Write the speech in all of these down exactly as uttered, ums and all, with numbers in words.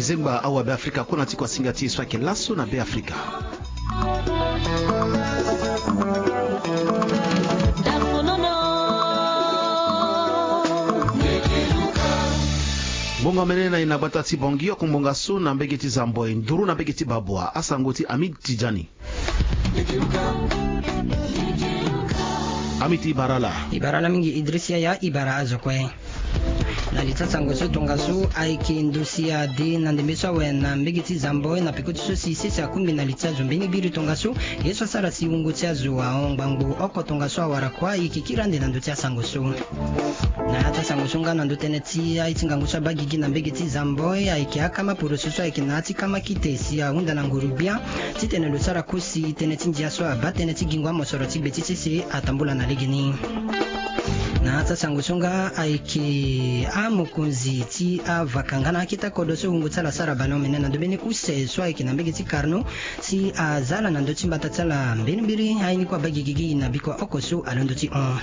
Zengba awa Beafrika kue na ti kuasinga ti e so ayeke laso na Beafrika. Ngonga mene na e na gbata ti Bangui oko ngbonga so na mbege ti Zamboi nduru na mbege ti Babua asango ti Amid Tidjani. Amid, e bara ala. E bara ala mingi Idriss Yaya, e bara azo kue. Na li ti asango so tongaso ayeke ndosi ade na ndembe so awe na mbege ti Zamboi na peko ti so si sese akungbi na li ti azo mbeni biri tongaso. Ye so asara si wungo ti azo ahon ngbangbo oko tongaso awara kua, e yeke kiri ande na ndö ti asango so. Na ya ti asango so nga na ndö tënë ti aye ti ngangu so abaa gigi na mbege ti Zamboi ayeke akama poroso so ayeke na ya ti kama kite si ahunda na nguru-gbia titene lo sara kosi tënë ti ndia so abaa tënë ti gingo amosoro ti gbe ti sese atambula na legeni. Na ya ti asango so nga ayeke amokonzi ti avaka nga na akete akodro so wungo ti ala asara bale omene na ndö mbeni use so ayeke na mbege ti Carnot si aza ala na ndö ti mbata ti ala mbeni mbiri aye ni kue abaa gigi gi na bikua oko so alondo ti hon.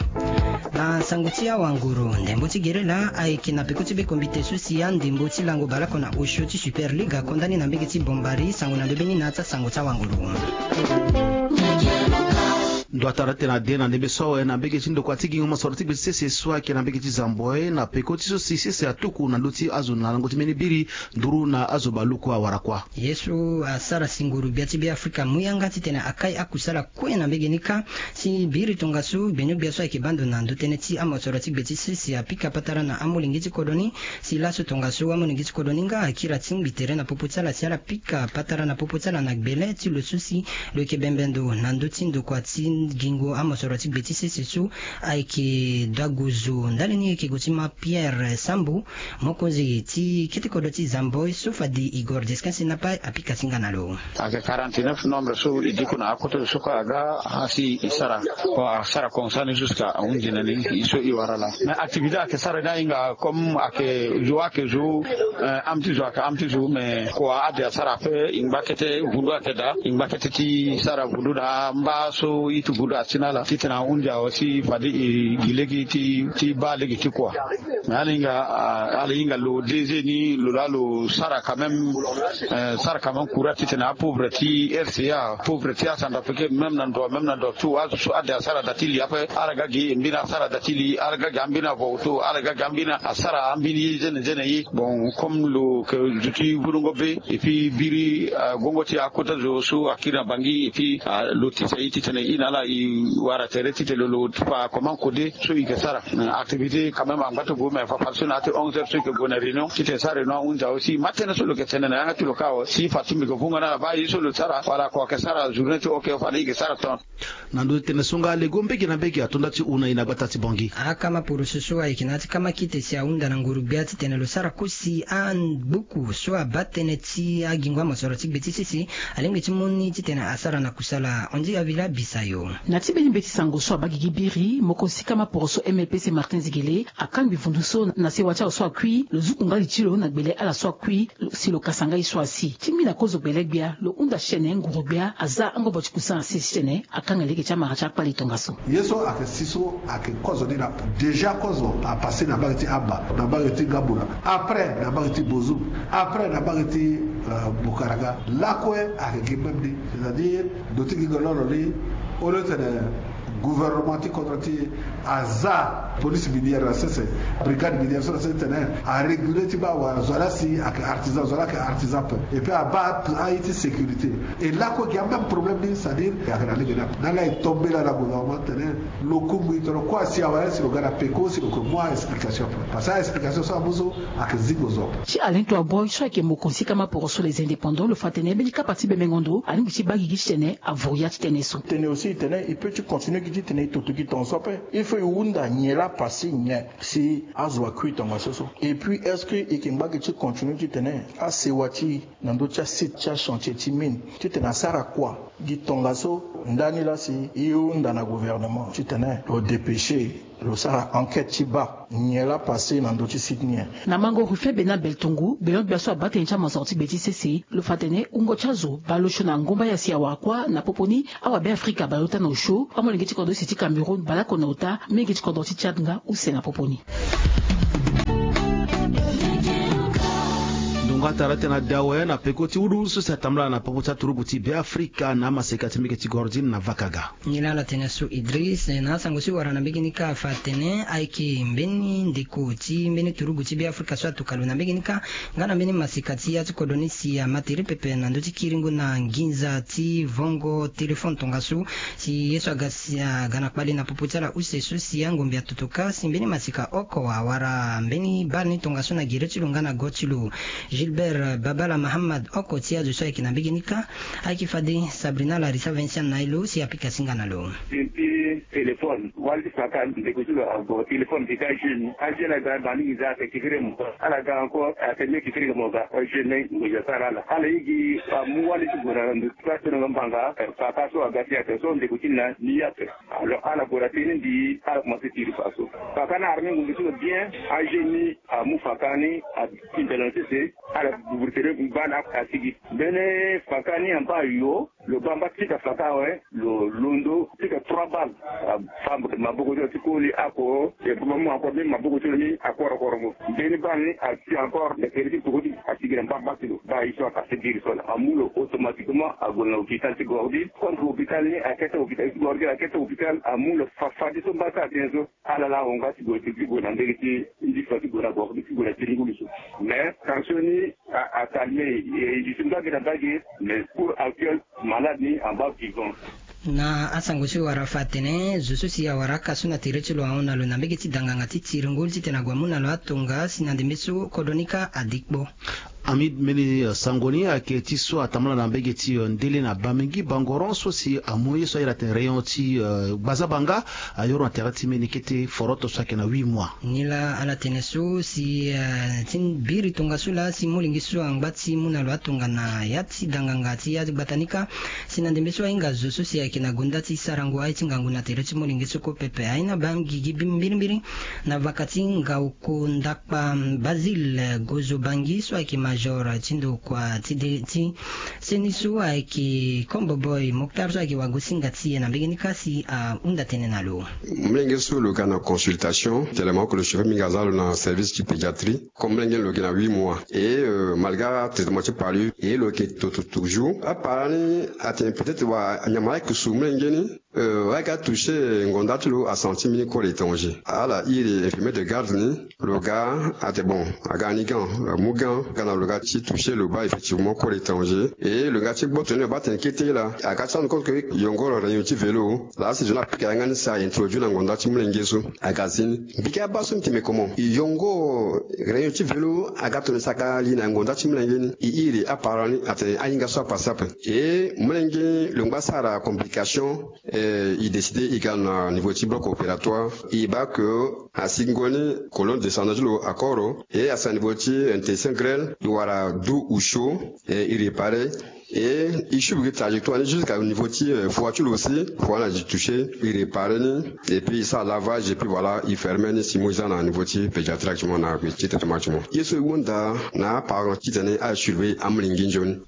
Na sango ti awanguru, ndembo ti gere laa ayeke na peko ti be kombite so si andembo ti lango baleoko na osio ti Super League akonda ni na mbege ti Bombari. Sango na ndö mbeni na ya ti asango ti awanguru. Ndo atara titene ade na ndembe so awe na mbege ti ndokua ti gingo mosoro ti gbe ti sese so ayeke na mbege ti Zamboi na peko ti so si sese atuku na ndö ti azo na lango ti mbeni biri nduru na azo baleoko awara kua. Ye so asara si nguru-gbia ti Beafrika amu yanga titene akai akusala kue na mbege ni kâ. Si biri tongaso gbenyo-gbia so ayeke baa ndo na ndö tënë ti amosoro ti gbe ti sese apika patara na amolenge ti kodro ni. Si laso tongaso amolenge ti kodro ni nga akiri atingbi tere na popo ti ala si ala pika patara na popo ti ala na gbele ti lo so si lo yeke bembe ndo na ndö ti ndokua ti gingo amosoro ti gbe ti sese so ayeke daguzu ndali ni yeke gue ti ma Pierre Sambu, mokonzi ti kete kodro ti Zamboi so fade Igor Descanse na pai apika ti nga na lo. Ayeke quarante-neuf nombre so e diko na akota zo so kue aga asi e sara. Bon, asara konsani jusqu'à ahunzi na ni e so e wara laa. Mais activité ayeke sara ni ahinga comme ayeke zo ayeke zo, eh, âme ti zo ayeke âme ti zo, mais kua ade asara ape e ngba kete vundu ayeke daa, e ngba kete ti sara vundu na amba so iti vundu asi na ala titene ahunzi awe si fade e gi lege ti, ti baa lege ti kua. Mais ala hinga, ah, ala hinga lo D G ni lo laa lo sara quand même, eh, sara quand même courage titene apauvre ti R C A, pauvre ti asanda peke même na ndo, même na ndo tout azo so ade asara da ti li ape, ala ga gi e mbeni asara da ti li, ala ga gi ambeni avoto, ala ga gi ambeni asara ambeni ye zene zene ye. Bon, comme lo yeke zo ti volongo be, et puis biri, ah, gongo ti akota zo so akiri na Bangui, et puis, ah, lo tisa e titene e na ala e wara tere titene lo, lo fa comment kode so e yeke sara. Activité quand même angba ti gue, mais fa fade so na ya ti onze heures so e yeke gue na réunion titene sara réunion ahunzi awe si ma tënë so lo yeke tene na yanga ti lo kâ awe si fa ti mbi yeke vunga na ala baa ye so lo sara wala kua yeke sara journée ti oke fade e yeke sara ton. Na ndö ti tënë so nga lego mbege na mbege ato nda ti huna e na gbata ti Bangui. Akama poroso so ayeke na ya ti kama kite si ahunda na nguru-gbia titene lo sara kosi angbuku so abaa tënë ti agingo amosoro ti gbe ti sese alingbi ti mu ni titene asara na kusala. Ondi Avila Bisayo. Na ti mbeni mbeti sango so abaa gigi biri, mokonzi ti kama poroso M L P C Martin Zigele akangbi vundu so na sewa ti azo so akui, lo zuku nga li ti lo na gbele ala so akui, si lo kasa nga ye so asi. Ti mbi na kozo gbele-gbia, lo hunda si tene nguru-gbia aza angobo ti kusana sese titene akanga lege ti amara ti akpale tongaso. Ye so ayeke si so ayeke kozo ni laa. Déjà kozo apassé na mbage ti Amba, na mbage ti Ngambula, après na mbage ti Bozoum, après na mbage ti, euh, Boukaranga. Lakue ayeke gi même ni, c'est-à-dire ndo ti gi ngololo ni, au lieu tene gouvernement ti kodro ti e aza police minière na sese, brigade minière so na sese titene aréguler ti baa wala zo laa si ayeke artisan, zo laa ayeke artisan ape. Et puis abaa aye ti sécurité. Et lakue gi amême problème ni, c'est-à-dire ayeke na lege ni ape. Na laa e tombe laa na gouvernement titene lo kungbi tongana kue asi awe si lo ga na peko si lo yeke mu a-explication ape. Parce que a-explication so amu so ayeke zingo zo ape. Ti Alain Toaboy so ayeke mokonzi ti kama poroso Les Indépendants, lo fa tene mbeni kapa ti bembengo ndo alingbi ti baa gigi titene avoria ti tënë so. Tene aussi titene e peut ti continuer gi titene e toto gi tongaso ape. Il faut e hunda nyen laa passé nyen si azo akui tongaso so. Et puis est-ce que e yeke ngba gi ti continuer titene asewa ti e na ndö ti asite ti achantier ti mine titene asara kua gi tongaso? Ndani laa si e hunda na gouvernement titene lo dépêcher lo sara enquête ti baa nyen laa passé na ndö ti site ni nyen. Na mango Ruffin Bena Beltongo, gbenyo-gbia so abaa tënë ti amosoro ti gbe ti sese, lo fa tene wungo ti azo baleosio na ngomba ya si awara kua na popo ni awabeafrika baleota na osio, amolenge ti kodro use ti Cameroun baleoko na ota, mingi ti kodro ti Tchad nga use na popo ni. Patara tena dawe na peko ti wudu so si atambala na popo ti aturugu ti Beafrika na amaseka ti mbege ti Gordine na Vakaga. Nilala tene so Idris na asango si wara na mbege ni ka afa atene ayeke mbeni ndeko ti mbeni turugu ti Beafrika so atuka lo na mbege ni ka nga na mbeni maseka ti ya ti kodro ni si ama tere pepe na ndö ti kiringo na nginza ti vongo telefone tongaso. Si ye so aga si aga na kpale na popo ti ala use so si angombe atutuka si mbeni maseka oko awara mbeni bale ni tongaso na gere ti lo nga na go ti lo. Gilbert Babala Mahamad oko ti azo so ayeke na mbege ni ka ayeke fade Sabrina Larissa Vincent na ye lo si apika singa na lo. Ti téléphone wali ti faka ndeko ti lo ago téléphone ti ka jeune ajeune aga na mingi za ate kekere mo ala ga encore ate mie kekere mo ga jeune ni ngonza sara ala ala ye gi amu wali ti gue na ndo ti ka tene nga mbanga faka so aga ti ate so ndeko ti na ni ape. Alors ala gue na tene mbi ala commencé tiri fa so faka ni arme ngonza ti lo bien ajeune ni amu faka ni atinda na sese. Ala buburu tene mba na asigi mbeni faka ni amba yo. Lo baa mba ti ka faka awe lo londo ti ka trois balles. Afa maboko ti lo ti koli ako e baa mba mu encore ni maboko ti lo ni akoro korongo mbeni baa ni asi encore na keri ti poko ti asigi na mba mba ti lo baa ye so akase biri so na amu lo automatiquement ague na hôpital ti Gordi contre hôpital ni akete hôpital ti Gordi akete hôpital amu lo fafadi so mba ti atene so. Ala la ahon nga ti gue ti gue na ndege ti ndifa ti gue na Gordi ti gue na tiringulu so. Mais tension ni acalme e duti mbage na mbage. Mais pour actuel malade ni amba vivant. Na asango so e wara fa atene zo so si awara aka so na tere ti lo ahon na lo na mbege ti danganga ti tiringulu titene ague amu na lo atonga si na ndembe so kodro ni ka adikpo. Amid mbeni sango ni ayeke ti so atambala na mbege ti ndele na bamingi bangoron so si amu ye so ayeda tene rayon ti gbazabanga. Ayoro na tere ti mbeni kete foroto so ayeke na huit mois. Nilaa ala tene so si ti biri tongaso laa si molenge so angba ti mu na lo atongana ya ti danganga ti ya ti gbata ni ka. Si na ndembe so ahinga zo so si ayeke na gonda ti sarango aye ti ngangu na tere ti molenge so ko pepe aye ni abaa gigi mbirimbiri. Na vaka ti ngauko ndakpa Basile Gozo Bangi so ayeke major ti ndokua ti de ti seni so ayeke kombo boy moktar so ayeke wagosinga ti e na mbege ni ka si ahunda tënë na lo. Molenge so lo ga na consultation tellement que lo chauffeur mingi aza lo na service ti pédiatrie. Comme molenge ni lo gi na huit mois et malgré atraitement ti palu e lo yeke toto toujours apara ni. Atene peut-être wa nyama ayeke su molenge ni. Wayeke atoucher ngonda ti lo asanti mbeni corps étranger ala iri infirmier de garde ni. Lo ga ate bon aga ni gan amu gan aga na lo ga ti toucher lo baa effectivement corps étranger. Et lo ga ti gboto ni lo baa tene kete laa aga ti rendre compte ke yongoro réunion ti vélo laa si zo ni apika yanga ni si a introduit na ngonda ti molenge so. Aga zi ni mbi ke abaa so mbi tene comment yongoro réunion ti vélo aga tongana saka li na ngonda ti molenge ni. E iri apara ni atene ahinga so apase ape. E molenge ni lo ngba sara complication. E décide e ga na niveau ti bloc opératoire e baa ke asingo ni colonne descendant ti lo akoro e asara niveau ti intestin grêle e wara du ou chaud. E e réparer e e suivre trajectoire ni jusqu'à niveau ti foi ti lo aussi foi na di toucher e réparer ni. Et puis e sara lavage et puis voilà e fermer ni si mo e za na niveau ti pédiatrie actuellement na gbe ti traitement ti mo. Ye so e hunda na apara titene a suivre amolenge nzoni.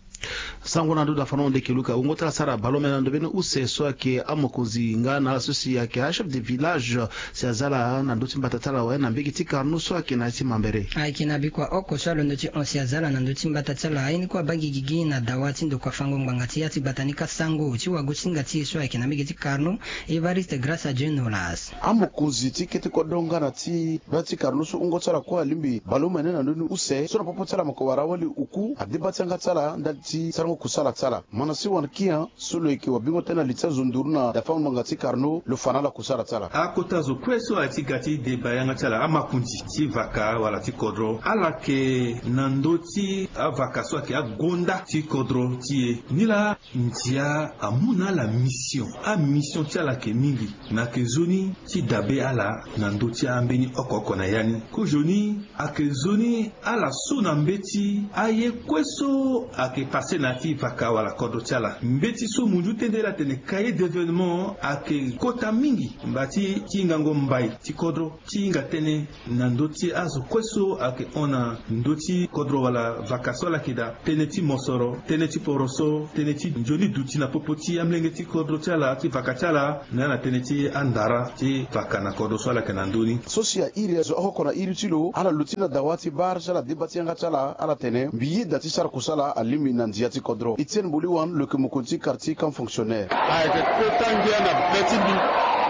Sango na ndo da fana hunde ke luka wungo ti ala sara baleomene na ndo mbeni use so ayeke amokonzi nga na ala so si ayeke achef de village si aza ala na ndö ti mbata ti ala awe na mbege ti karno so ayeke na ya ti mambere. Ayeke na bikua oko so alondo ti hon si aza ala na ndö ti mbata ti ala aye ni kue abaa gi gigi na dawa ti ndokua fango ngbanga ti ya ti gbata ni ka sango ti wagosinga ti e so ayeke na mbege ti karno. Evariste grâce à dieu nolas. Amokonzi ti kete kodro nga na ti baa ti karno so wungo ti ala kue alingbi baleomene na ndö ni use so na popo ti ala moko wara wali uku adeba ti yanga ti ala ndali ti sarango kusala ti ala. Mana si wan kian so lo yeke wabingo tënë na li ti azo nduru na dafa ngbanga ti karno lo fa na ala kusala ti ala. Akota zo kue so aye ti ga ti deba yanga ti ala amakonzi ti vaka wala ti kodro ala yeke na ndö ti avaka so ayeke agonda ti kodro ti e. Nilaa ndia amu na ala mission amission ti ala ayeke mingi. Me ayeke nzoni ti dabe ala na ndö ti ambeni oko oko na ya ni. Kozoni ayeke nzoni ala so na mbeti aye kue so ayeke pase na ti vaka wala kodro ti ala. Mbeti so munzu tende la tene cahier d'événement ayeke kota mingi mba ti ti hingango mbai ti kodro ti hinga tënë na ndö ti azo kue so ayeke hon na ndö ti kodro wala vaka so ala yeke daa, tënë ti mosoro, tënë ti poroso, tënë ti nzoni duti na popo ti amolenge ti kodro ti ala ti vaka ti ala na ya na tënë ti andara ti vaka na kodro so ala yeke na ndö ni. So si a iri azo oko oko na iri ti lo ala luti na dawa ti bar si ala deba ti yanga ti ala ala tene mbi yeda ti sara kusala alingbi na ndia ti kodro. Etienne Boliwan lo yeke mokonzi ti quartier camp fonctionnaire. Ayeke kota ngia na be ti mbi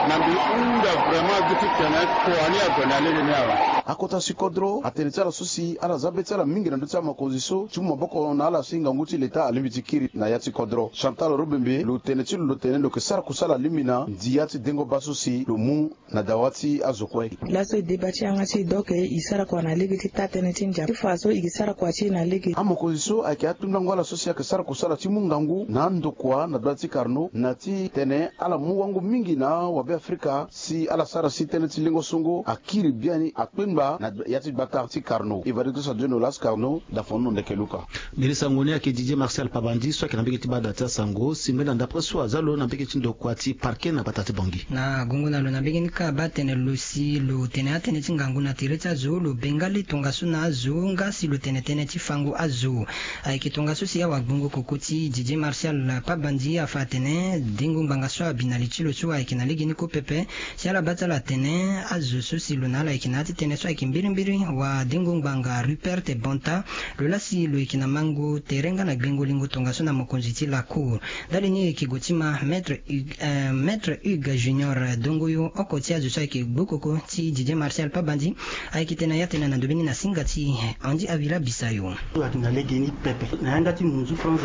na mbi hunda vraiment gi ti tene kua ni ague na lege ni awe. Akota si kodro atene ti ala so si ala za be ti ala mingi na ndö ti amokonzi so ti mu maboko na ala si ngangu ti leta alingbi ti kiri na ya ti kodro. Chantal Robembe lo tene ti lo lo tene lo yeke sara kusala alingbi na ndia ti dengo baa so si lo mu na dawa ti azo kue. Laso e deba ti yanga ti e donc e sara kua na lege ti taa tënë ti ndia ti fa so e ke sara kua ti e na lege. Amokonzi so ayeke atundango ala so si ayeke sara kusala ti mu ngangu na andokua na gbata ti Carnot na ti tene ala mu wango mingi na awabe afrika si ala sara si tënë ti lengo songo akiri biani akpengba na ya ti gbata ti Carnot. Evariste Sadio Nolas, Carnot, da fonu ndeke luka. Mbeni sango ni ayeke Didier Martial Pabandi so ayeke na mbege ti bada ti asango si mbeni na ndapre so aza lo na mbege ti ndokua ti parquet na gbata ti Bangui. Na gongo na lo na mbege ni kâ abaa tene lo si lo tene atënë ti ngangu na tere ti azo lo bengale tongaso na azo nga si lo tene tënë ti fango azo. Ayeke tongaso si awagbongo koko ti Didier Martial Pabandi afa atene dengo ngbanga so abi na li ti lo so ayeke na lege ni kue pepe. Si ala baa ti ala atene azo so si lo na ala ayeke na ya ti tënë so ayeke mbirimbiri wa dengo ngbanga Rupert Bonta. Lo laa si lo yeke na mango tere nga na gbengo lingo tongaso na mokonzi ti lacour. Ndali ni e yeke gue ti ma maître Hugues, eh, maître Hugues Junior Dongoyo oko ti azo so ayeke gbokoko ti Didier Martial Pabandi. Ayeke tene na ya tene na ndobeni na singa ti Andy Avila Bisayo. So ayeke na lege ni pepe na yanga ti munzu France.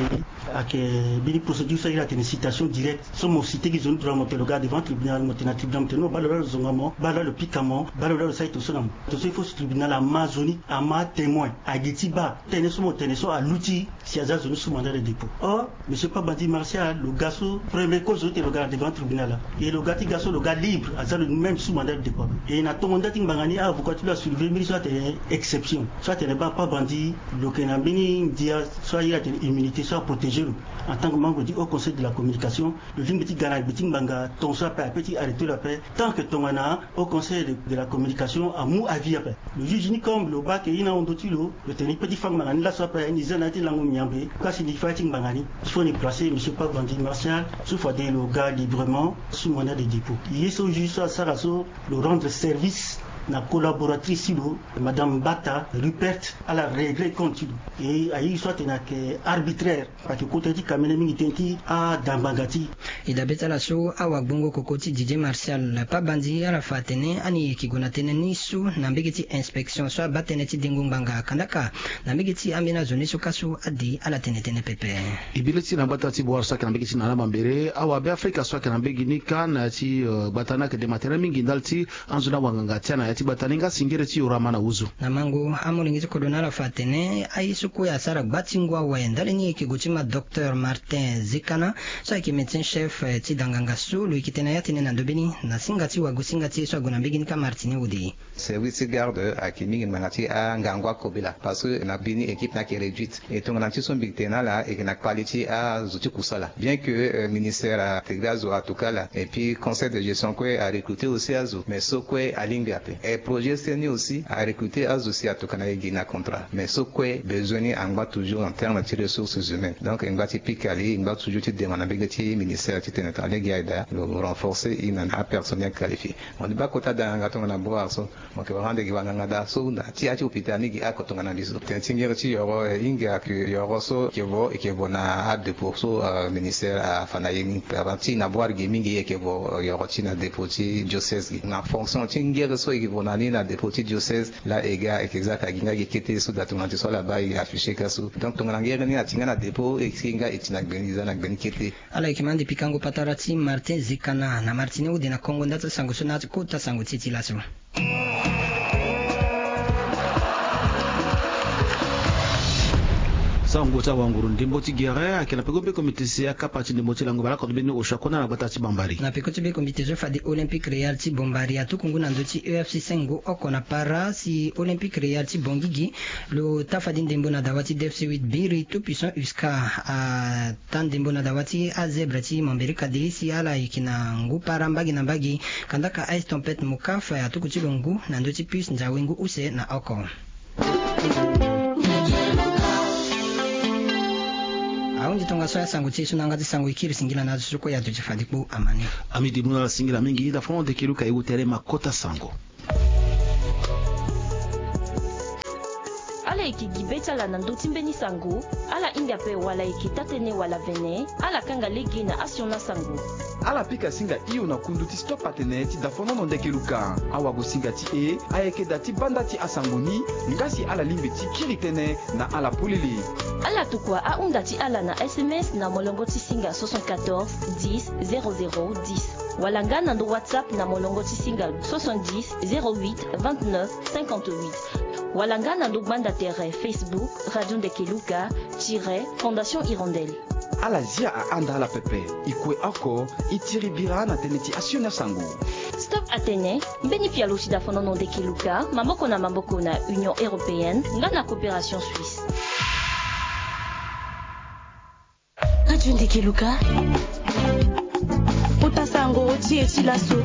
Ayeke mbeni procédure so ayeke citation directe so mo cite gi zo ni droit mo tene lo ga devant tribunal mo tene na tribunal mo tene non baa lo laa lo zonga mo baa lo laa lo pika mo baa lo laa lo sara tongaso na mo. Tongaso il faut si tribunal ama zo ni ama atémoin agi ti baa tënë so mo tene so aluti si aza zo ni sous mandat de dépôt. Or monsieur Pabandi Martial lo ga so premier cause so ti tene lo ga na devant tribunal laa e lo ga ti ga so lo ga libre aza lo ni même sous mandat de dépôt. E na tongo nda ti ngbanga ni avocat ti lo asurveiller mbeni so atene exception so atene baa Pabandi lo yeke na mbeni ndia so aye atene immunité so aprotéger lo en tant que membre du haut conseil de la communication. Lo lingbi ti ga na gbe ti ngbanga tongaso ape ape ti arrêter lo ape tant que tongana haut conseil de la communication amu avis ape. Lo juge ni comme lo baa ke ye ni ahon ndö ti lo lo tene ni pe ti fa ngbanga ni laso ape ni za na ya ti lango miambe kasi ni fa ya ti ngbanga ni. Fo ni placer monsieur Pabandi Martial so fade lo ga librement sous mandat de dépôt. Ye so juge so asara so lo rendre service na collaboratrice ti lo madame Bata Rupert ala régler compte ti lo. E aye so atene ayeke arbitraire. Ayeke kota ye ti kamene mingi tënë ti ada ngbanga ti e. E dabe ti ala so awagbongo koko ti Didier Martial Pabandi ala fa atene ani e yeke gue na tënë ni so na mbege ti inspection so abaa tënë ti dengo ngbanga kandaka na mbege ti ambeni azo ni so kâ so ade ala tene tënë pepe. E bi le ti na gbata ti Bouar so ayeke na mbege ti Nana Mambere awabe afrika so ayeke na mbege ni kâ na ya ti gbata ni ayeke dema tere mingi ndali ti anzo na wanganga ti ala na ya ti gbata ni nga singere ti Yorama na Wuzu. Na mango amolenge ti kodro na ala fa atene aye so kue asara gba ti ngu awe ndali ni e yeke gue ti ma docteur Martin Zekana so ayeke médecin chef ti da nganga so lo yeke tene na ya tënë na ndobeni na singa ti wago singa ti e so ague na mbege ni kâ Martini Wode. Service ti garde ayeke mingi ngbanga ti angangu akobela parce que na mbeni équipe ni ayeke réduite. E tongana ti so mbi tene na ala e yeke na kpali ti azo ti kusala bien que ministère ategre azo atuka ala et puis conseil de gestion kue arecruter aussi azo mais so kue alingbi ape. Et projet seni aussi arecruter azo si atuka na e gi na contrat mais so kue besoin ni angba toujours en terme ti ressources humaines donc e ngba ti pika li e ngba toujours ti demande na mbege ti ministère ti tene tongana lege aye daa lo renforcer e na apersonnel qualifié. Mo ni baa kota da nganga tongana Bouar so. Mo yeke rendre gi wanganga daa so na ti ya ti hôpital ni gi oko tongana mbi so tene ti ngere ti yoro e hinga yoro so e yeke vo e yeke vo na adépôt so ministère afa na ye ni. Ti na Bouar gi mingi e yeke vo yoro ti na dépôt ti diocèse gi na fonction ti ngere so e yeke vo na ni na dépôt ti diocèse. Laa e ga e yeke za ka gi nga gi kete so daa tongana ti so ala baa e afficher ka so donc tongana ngere ni ati nga na dépôt e si nga e ti na gbeni za na gbeni kete. Ala yeke ma ande pikango patara ti Martin Zekana na Martini Wode na kongo nda ti asango so na ya ti kota sango ti e ti laso. Sango ti awanguru ndembo ti gere ayeke na peko be komite si akapa ti ndembo ti lango baleoko ti mbeni osio akona na gbata ti Bambari. Na peko ti be komite so fade Olympique Real ti Bambari atuku ngu na ndö ti E F C Sengo oko na para si Olympique Real ti Bangigi lo ta fade ndembo na dawa ti D F C huit Biri Tout Puissant Usca ata ndembo na dawa ti azebre ti Mambérika de si ala yeke na ngu para mbage na mbage. Kandaka Ice Tempête Mokaf atuku ti lo ngu na ndö ti Puce Nzawe ngu use na oko. Ahunzi tongaso ya sango ti e so na yanga ti sango e kiri singila na azo so kue ya duti fade kpo amani. Ami dibuna ala singila mingi dafa na ndeke luka e wu tere ma kota sango. Ala yeke gi be ti ala na ndö ti mbeni sango. Ala hinga ape wala e yeke taa-tënë wala vene. Ala kanga lege na asioni asango. Ala pika singa hio na kundu ti stop atene ti dafonono ndeke luka. Awagosinga ti e ayeke daa ti banda ti asango ni. Nga si ala lingbi ti kiri tënë na ala polele. Ala tokua ahunda ti ala na S M S na molongo ti singa soixante-quatorze dix zéro zéro dix, wala nga na ndo WhatsApp na molongo ti singa soixante-dix zéro huit vingt-neuf cinquante-huit, wala nga na ndo gbanda tere Facebook Radio Ndeke Luka tiret Fondation Hirondelle. Ala zia ahanda ala pepe. E kue oko e tiri bira na tënë ti asioni asango. Stop atene mbeni pialo ti dafonono ndeke luka maboko na maboko na Union Européenne nga na Coopération Suisse. Radio Ndeke Luka. Kota sango ti e ti laso.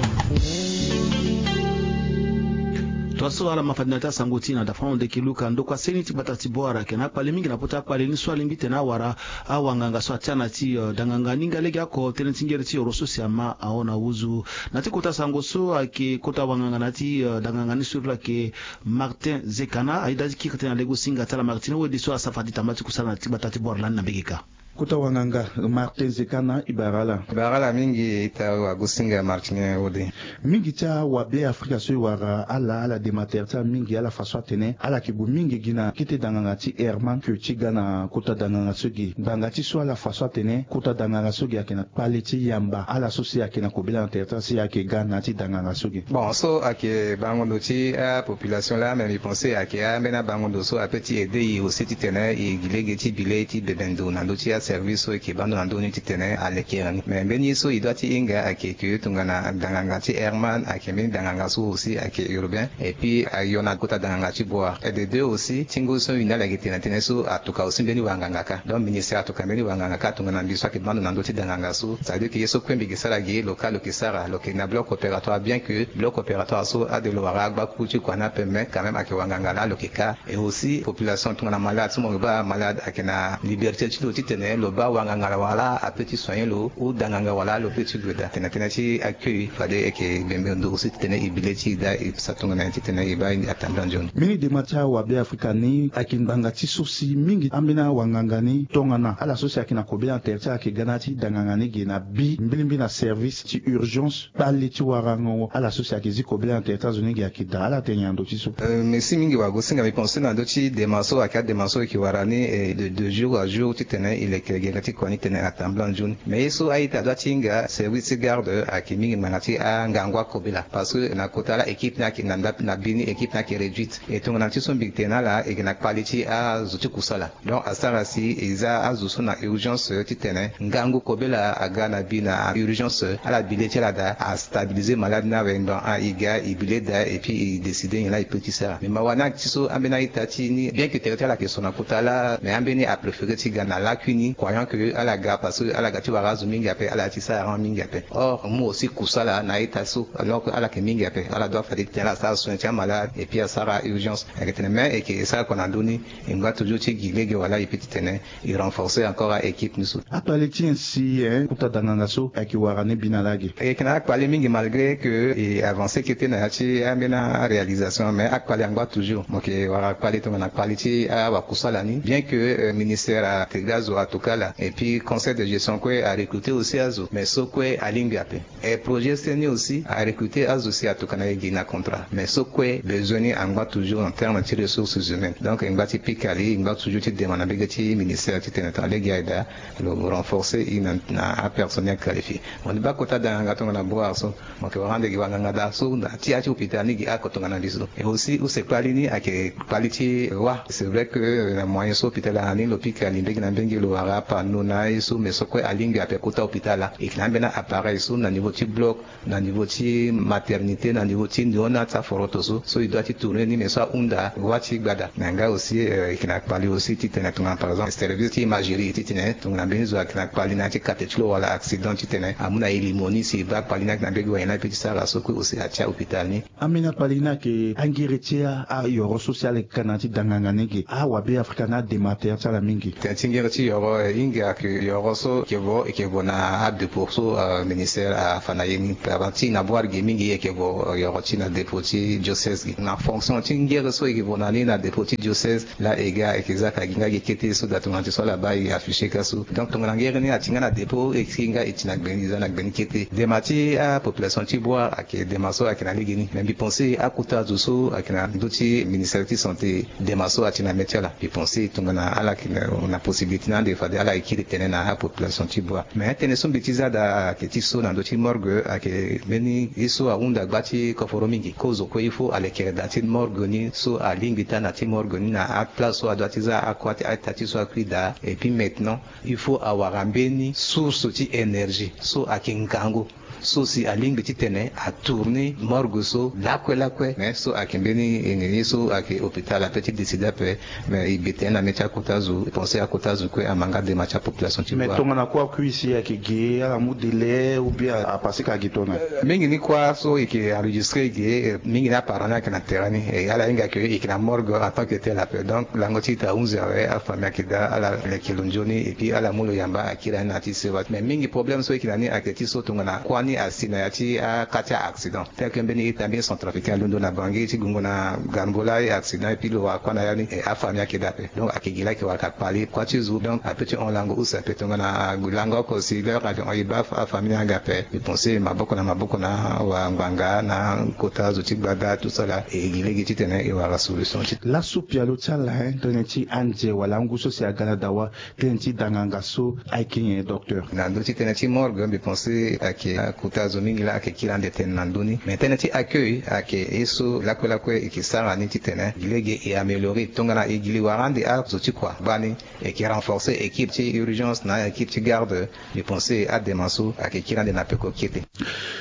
Tongaso ala ma fade na ya ti asango ti e na dafonono ndeke luka ndokua seni ti gbata ti Bouar ayeke na akpale mingi na pota akpale ni so alingbi titene awara awanganga so atia na ti, eh, danganga ni nga legeoko tënë ti ngere ti oro so si ama ahon na wuzu. Na ti kota sango so ayeke kota wanganga na ya ti, eh, danganga ni so iri lo ayeke Martin Zekana ayeda ti kiri tënë na lege osinga ti ala Martin Wede so asara fade ti tamba ti kusala na ti gbata ti Bouar lani na mbege kâ. Kota wanganga Martin Zekana e bara ala. E bara ala mingi ita wagosinga Martin Wode. Mingi ti awabe Afrika so e wara ala, ala dema tere ti ala mingi, ala fa so atene ala yeke gue mingi gi na kete danganga ti Herman que ti ga na kota danganga so gi. Ngbanga ti so ala fa so atene kota danganga so gi ayeke na kpale ti yamba ala so si ayeke na kobela na tere ti ala si ayeke ga na ya ti danganga so gi. Bon, so ayeke bango ndo ti apopulation laa, mais mbi pense ayeke ambeni abango ndo so ape ti aider e aussi titene e gi lege ti bi le ti bebe ndo na ndö ti aservice so e yeke baa ndo na ndö ni titene alekere ni. Mais mbeni ye so e doit ti hinga ayeke que tongana danganga ti Herman ayeke mbeni danganga so aussi ayeke urbain. Et puis ayo na kota danganga ti Bouar. Et de deux aussi ti ngu so e na ala yeke tene na tënë so atuka aussi mbeni wanganga kâ. Donc ministère atuka mbeni wanganga kâ tongana mbi so ayeke baa ndo na ndö ti danganga so. Ça veut dire que ye so kue mbi yeke sara gi lo kâ lo yeke sara, lo yeke na bloc opératoire, bien que bloc opératoire so ade lo wara agbaku ti kua ni ape, mais quand même ayeke wanganga laa lo yeke kâ. Et aussi population tongana malade so mo yeke baa malade ayeke na liberté ti lo titene lo baa wanganga wala ape ti soigner lo ou danganga wala lo pe ti gue daa. Tene tënë ti accueil fade e yeke bembe ndo aussi titene e bi le ti e daa e sa tongana nyen titene e baa atambula nzoni. Mbeni dema ti awabe Afrika ni ayeke ngbanga ti so si mingi ambeni awanganga ni tongana ala so si ayeke na kobela na tere ti ala ayeke ga na ya ti danganga ni ge na bi mbilimbili na service ti urgence kpale ti warango ala so si ayeke zi kobela na tere ti azo ni ge ayeke daa. Ala tene nyen na ndö ti so? Euh, merci mingi wagosinga. Mbi pense na ndö ti dema so ayeke adema so e yeke wara ni, eh, de, de jour à jour titene e leke gere ti kua ni titene atambula nzoni. Mais ye so a-ita adoit ti hinga service ti garde ayeke mingi ngbanga ti angangu akobela parce que na kota laa équipe ni ayeke na, na bi ni équipe ni ayeke réduite. E tongana ti so mbi tene na ala e yeke na kpale ti azo ti kusala. Donc asara si e za azo so na urgence titene ngangu kobela aga na bi na urgence, ala bi le ti ala daa, astabiliser malade ni awe, donc e ga e bi le daa et puis e décider nyen laa e peut ti sara. Mais mawa ni ayeke ti so ambeni a-ita ti ni, bien que tere ti ala ayeke so na kota laa, mais ambeni apréféré ti ga na lakui ni, croyant que ala ga parce que ala ga ti wara azo mingi ape, ala ya ti sara arange mingi ape. Or mu aussi kusala na a-ita so, alors que ala yeke mingi ape, ala doit fade titene ala sara soin ti amalade et puis asara urgence. Ayeke tene mais e yeke e sara kua na ndö ni, e ngba toujours ti gi lege wala e peut titene e renforcer encore a-équipe ni so. Akpale ti nyen si, eh, kota danganga so ayeke wara ni bi na lage? E yeke na akpale mingi malgré que e avancer kete na ya ti ambeni aréalisation, mais akpale angba toujours. Mo yeke wara kpale tongana kpale ti awakusala ni, bien que, euh, ministère ategre azo ato kala. Et puis conseil de gestion kue arecruter aussi azo, mais so kue alingbi ape. Et projet seni aussi arecruter azo si atokana ye gi na contrat, mais so kue besoin ni angba toujours en terme ti ressources humaines. Donc e ngba ti pika li, e ngba toujours ti demande na mbege ti ministère titene tongana lege aye daa lo renforcer e na, na apersonnel qualifié. Mo ni baa kota danganga tongana boire so, mo yeke wara ande gi wanganga daa so na ti ya ti hôpital ni gi ako tongana mbi so. Et aussi use kpali ni ayeke kpali ti wa. C'est vrai que na moyen so hôpital ayeke na ni lo pika li mbege na mbege, lo wara apano na aye so, mais so kue alingbi ape kota hôpital laa. E yeke na ambeni appareil so na niveau ti bloc, na niveau ti maternité, na niveau ti nyon na ti aforoto so, so e doit ti tourner ni, mais so ahunda wa ti gbada. Na nga aussi e yeke na kpali aussi titene tongana par exemple service ti imagerie titene tongana mbeni zo ayeke na kpali na ya ti kate ti lo wala accident titene amu na e limo ni si e baa kpali ni ayeke na mbege wayenda ape ti sara so kue aussi atia hôpital ni. Ambeni akpali ni ayeke angere ti ayoro so si ala yeke ka na ya ti danganga ni ge, awabe afrika ni adema tere ti ala mingi. Tene ti ngere ti yoro, e, hinga ayeke yoro so e yeke vo, e yeke vo na adépôt so, e, ministère afa na ye ni. Avant ti na boire ge mingi e yeke vo, e, yoro ti na dépôt ti diocèse ge. Na fonction ti ngere so e yeke vo na ni na dépôt ti diocèse, laa e ga e yeke zia ka gi nga gi kete so daa tongana ti so ala baa e afficher ka so. Donc tongana ngere ni ati nga na dépôt, e si nga e ti na gbe ni, e za na gbe ni kete. Dema ti apopulation ti boire ayeke dema so ayeke na legeni. Mais mbi pense akota azo so ayeke na ndö ti ministère ti santé, dema so ati na mê ti ala. Mbi pense tongana ala yeke na possibilité na ande fade ala yeke kiri tene na apopulation ti boire. Mais atënë so mbi ti za daa ayeke ti so na ndö ti morgue ayeke mbeni ye so ahunda gba ti koforo mingi. Kozo kue il faut alekere daa ti morgue ni so alingbi ti ana ti morgue ni na aplace so adoit ti za akua ti ata ti so akui daa. Et puis maintenant il faut awara mbeni source ti énergie so ayeke ngangu. So si alingbi titene atourner morgue so lakue lakue. Mais so ayeke mbeni ye so ayeke hôpital ape ti décider ape. Mais e bi tene na mê ti akota zo, e pense akota zo kue ama nga dema ti apopulation ti. Mais tongana kue akui si ayeke ge, ala mu délai ou bien apase ka gi tongana? Mingi ni kua so e yeke enregistrer ge, mingi ni aparent ni ayeke na terrain ni. E ala hinga ke e yeke na morgue en tant que tel ape. Donc lango ti ita ahunzi awe, afamille ayeke daa, ala leke lo nzoni et puis ala mu lo yamba akiri ani na ya ti sewa. Mais mingi problème so e yeke na ni ayeke ti so tongana kua ni asi na ya ti aka ti a-accident. Tel que mbeni ita mbeni centrafricain alondo na Bangui ti gungo na Garmbola, e accident et puis lo wara kua na ya ni, e afamille ayeke daa ape. Donc ayeke gi laa ayeke wara ka kpali kua ti zo. Donc ape ti hon lango use ape tongana lango oko si l'heure ayeke hon e baa afamille ni aga ape. E pense maboko na maboko na awangbanga na kota zo ti gbada tout ça là, e gi lege titene e wara solution ti. Laso pialo ti ala, hein, tënë ti anze wala angu so si aga na dawa, tënë ti danganga so ayeke nyen, docteur? Na ndö ti tënë ti morgue mbi pense ayeke akota zo mingi laa ayeke kiri ande tënë na ndö ni. Mais tënë ti accueil ayeke ye so lakue lakue e yeke sara ni titene gi lege e améliorer. Tongana e gi li wara ande azo ti kua gbani, e yeke renforcer équipe ti urgence na équipe ti garde. Mbi pense adema so ayeke kiri ande na peko kete.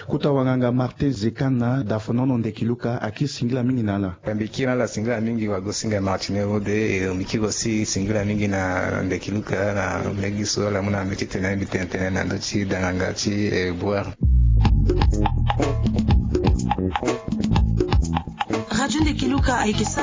Kota wanganga Martin Zekana, dafonono Ndeki Luka, akiri singila mingi na ala. Mbi kiri na ala singila mingi, wagosinga Martine Rode, e mbi kiri aussi singila mingi na Ndeki Luka na mbeni gi so ala mu na mbi titene mbi tene tënë na ndö ti danganga ti, e, boire. Radio Ndeki Luka ayeke sara